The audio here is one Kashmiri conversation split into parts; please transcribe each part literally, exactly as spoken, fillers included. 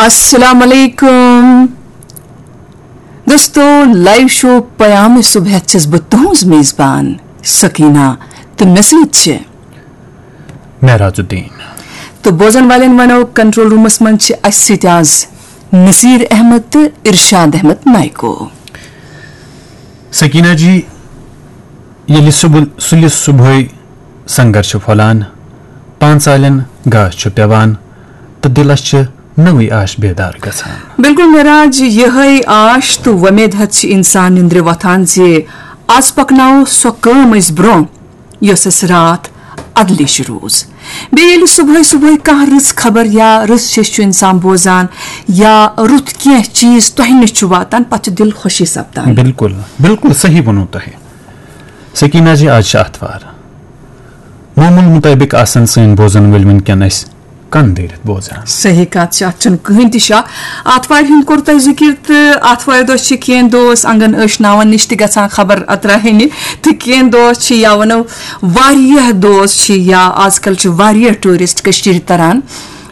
السلام علیکم دوستو، لائیو شو پیام صبح ہیتھ چھس بہٕ تُہنٛز میزبان سکینہ تہٕ مےٚ سۭتۍ چھِ معراج الدین۔ تہٕ بوزن والٮ۪ن ونو، کنٹرول رومس منٛز چھِ اسہِ سۭتۍ آز نصیر احمد تہٕ ارشاد احمد نائیکو۔ سکینہ جی، ییٚلہِ صبح، سُلہِ صبحٲے سنگر چھُ پھۄلان، پانٛژالٮ۪ن گاش چھُ پٮ۪وان تہٕ دِلس چھِ نٔوٕے آش بیدار گژھان۔ بِلکُل معراج، یِہے آش تہٕ وۄمید ہیتھ چھِ انسان نِندرِ وۄتھان زِ از پکناوو سۄ کٲم أسۍ برونٛہہ یۄس اسہِ راتھ ادلیش روٗز۔ بیٚیہِ ییٚلہِ صبحٲے صبحٲے کانٛہہ رٕژ خبر یا رٕژ شیٚش چھُ انسان بوزان یا رُت کینٛہہ چیٖز تۄہہِ نِش چھُ واتان، پتہٕ چھُ دِل خوشی سپدان۔ بِلکُل، بِلکُل صحیح ووٚنوٕ تۄہہِ۔ سکینہ جی، آز چھِ آتھوار۔ معموٗل مُطٲبِق آسن سٲنۍ بوزن وٲلۍ وٕنکیٚن اَسہِ کَن دٲرِتھ بوزان۔ صحیح کَتھ چھِ، اَتھ چھُنہٕ کٕہٕنۍ تہِ شک۔ آتھوارِ ہُنٛد کوٚر تۄہہِ ذِکِر، تہٕ آتھوارِ دۄہ چھِ کینٛہہ دوس آنٛگن ٲشناوان نِش تہِ گژھان خبر اَتراہنہِ، تہٕ کینٛہہ دوس چھِ یا وَنو واریاہ دوس چھِ یا آز کَل چھِ واریاہ ٹوٗرِسٹ کٔشیٖرِ تَران۔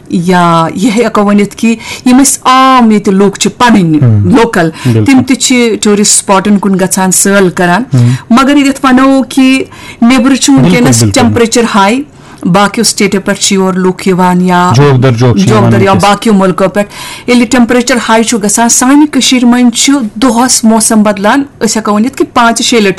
یا یہِ ہٮ۪کو ؤنِتھ کہِ یِم أسۍ عام ییٚتہِ لوٗکھ چھِ پَنٕنۍ ہم۔ لوکل، بِلکُل۔ تِم تہِ چھِ ٹوٗرِسٹ سپاٹن کُن گژھان، سٲل کران۔ ہم۔ مگر ییٚتٮ۪تھ وَنو کہِ نیٚبرٕ چھُ بِلکُل، وٕنکیٚنَس بِلکُل۔ ٹیمپریچر ہاے، باقیو سٹیٹو پٮ۪ٹھ چھِ یور لُکھ یِوان یا جوک در جوک چھِ جوک یِوان در یا وٕنکیٚس۔ باقیو مُلکو پٮ۪ٹھ۔ ییٚلہِ ٹیمپریچر ہاے چھُ گژھان، سانہِ کٔشیٖرِ منٛز چھُ دۄہَس موسم بدلان، أسۍ ہٮ۪کو ؤنِتھ کہِ پانٛژِ شیٚیہِ لَٹہِ چھُ